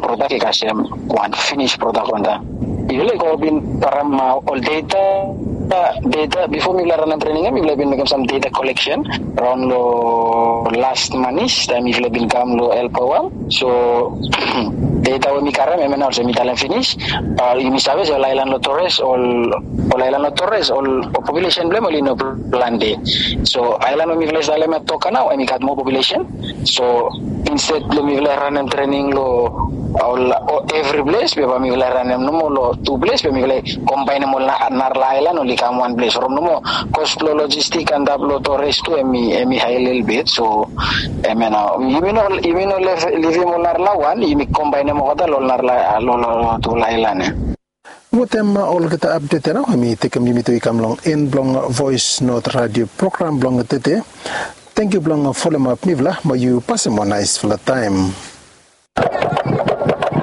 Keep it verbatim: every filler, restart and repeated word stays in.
prodak i kasem wan finis prodak on taem. Yufala i go bin karem ol data, data bifo mifala ranem trening ya mifala bin mekem sam data koleksen raon long last manis taem mifala bin kam long elpawam. So data we mi karem em ya nao olsem mi talem finis, yumi save se ol aelan long tores ol ol aelan long tores ol populesen blong em oli no plante. So aelan we mifala i talem ya toka nao em i gat moa populesen. So insted blong mifala i ranem trening long ol evri ples be bae mifala i ranem nomo long tu ples be mifala i kombaenem ol narala aelan oli kam wan ples from nomo kos blong lojistik antap long tores tu em i em i hae lelebet. So em ya nao yumi no yumi no livim ol narala wan yumi kombaenem olgeta long ol narala long long tu aelan ya. Wetem olgeta apdet ya nao em i tekem yumi tu i kam long en blong voes not radio program blong tede. Tangkiu blong folem ap mifala mo yu pasem wan naesfala taem.